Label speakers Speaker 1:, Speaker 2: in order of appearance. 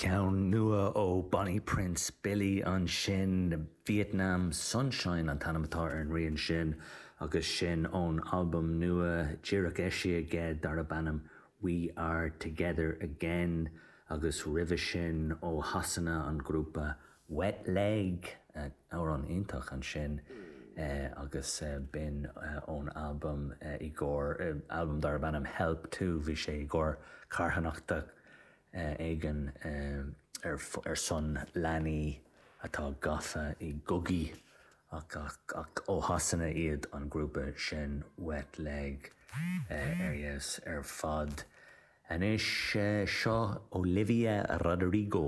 Speaker 1: Ceann nua ó Bonnie Prince Billy ansin, Vietnam Sunshine an t-ainm atá ar an rian sin agus sin ón albam nua díreach eisithe aige darb ainm We Are Together Again agus roimhe sin ó Shasana an grúpa Wet Leg, amhrán iontach ansin agus b'in ón albam i gcomhair, albam darb ainm Help 2, bhí sé i gcomhair carthanachta éigin ar son leanaí atá gafa i gcogaí ach ach ó Shasana iad an grúpa sin Wet Leg ar fheabhas ar fad. Anois seo Olivia Rodrigo.